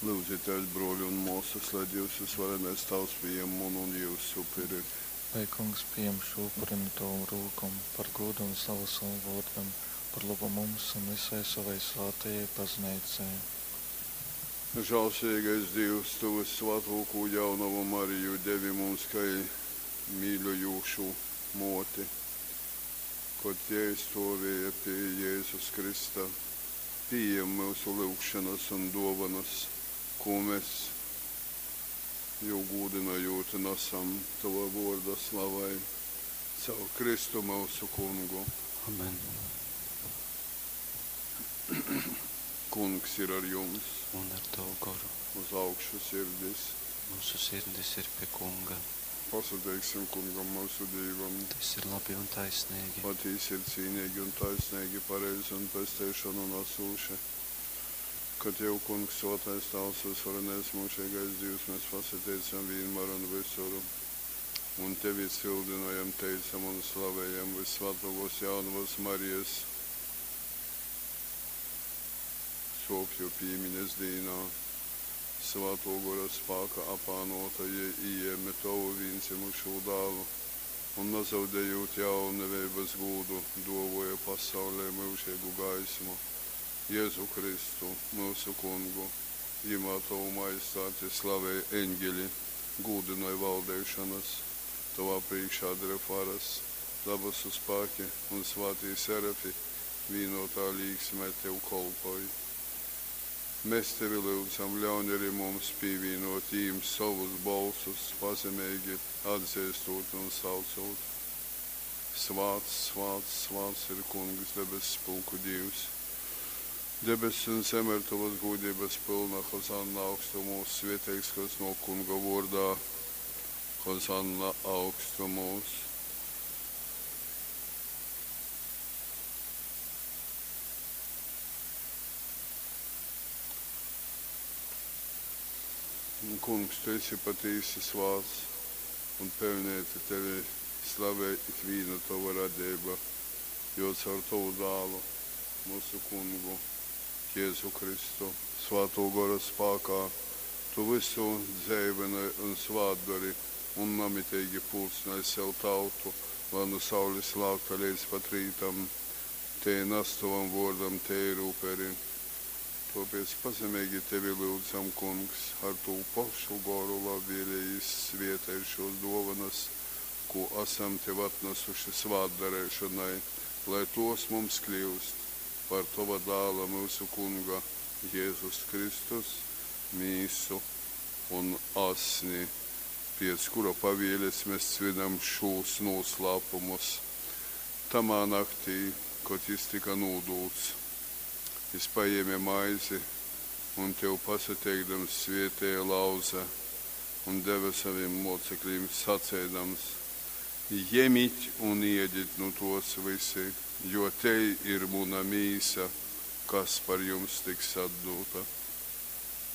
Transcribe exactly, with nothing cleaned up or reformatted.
Lyudzitēs, brōli un mōsas, lai Dīvs vysvarenais Tāvs pījem munu un jyusu upuri. Lai Kungs pījam šū upuri nu tovom rūkom par gūdu un slavu sovam vōrdam, par lobu mums un vysai sovai svātajai Bazneicai. Žālsirdīgais Dīvs, Tu vyssvātōkū Jaunovu Mariju devi mums kai mīļojūšu mōti, kod jei stōvēja pi Jezus krysta. Pījem myusu lyugšonas un dōvonas, kū mes, jū gūdynojūt, nasam Tova vōrda slavai. Caur Kristu myusu Kungu. Amen. Kungs ir ar jums. Un ar tavu goru. Uz augšu sirdis. Mūsu sirdis ir pie Kunga. Pasateiksim Kungam, myusu Dīvam. Tas ir labi un taisnīgi. Patīsi ir cīnīgi un taisnīgi, pareizi un pesteišonu nasūši. Ka Tev, Kungs, Svātais Tāvs, vysvarenais myužeigais Dīvs, mēs pasateicam vīnmār un visur. Un Tevi cildinojam, teicam un slavējam Vyssvātōkōs Jaunavas Marijas sōpju pīmiņas dīnā. Svātō Gora spāka apānōta jei ījēme Tovu vīndzymušū Dālu un, nazaudejūt jauneveibas gūdu, dōvōja pasaulei myužeigu gaismu, Jezu Kristu, myusu Kungu. Jymā Tovu Majestāti slavej eņgeli, gūdynoj valdeišonas, Tovā prīškā dreb varas, dabasu spāki un svātī serafi vīnōtā līksmē Tev kolpoj. Mes Tevi lyudzam, ļauņ ari mums pīvīnōt jīm sovus bolsus, pazemeigi atzeistūt un saucūt, Svāts, svāts, svāts ir Kungs, debesspulku Dīvs! Debess un zeme ir Tovas gūdeibas pylna, Hozanna augstumūs, svieteigs, kas nōk Kunga vōrdā, Hozanna augstumūs. Kungs, Tu esi patīsi svāts un peļneiti Tevi slavej ikvīna Tova radeiba, jo caur Tovu Dālu, myusu Kungu, Jezu Kristu, Svātō Gora spākā Tu vysu dzeivynoj un svātdori un namiteigi pulcynoj sev tautu, lai nu saules lākta leidz pat rītam tei nas Tovam vōrdam teiru uperi. Tōpēc pazemeigi Tevi lyudzam, Kungs, ar tū pošu Goru labvēlīgi svētej šōs dōvonas, kū asam Tev atnasuši svātdareišonai, lai tōs mums kļyust par Tova Dāla, myusu Kunga, Jezus Kristus mīsu un asni, pēc kura pavēles mes svinam šūs nūslāpumus. Tamā naktī, kod jys tyka nūdūts, jys pajēme maizi un, Tev pasateikdams, svētēja, lauze un deve sovim mōceklim, saceidams, Jemit un ēdit nu tōs vysi, jo tei ir muna mīsa, kas par jums tiks atdūta.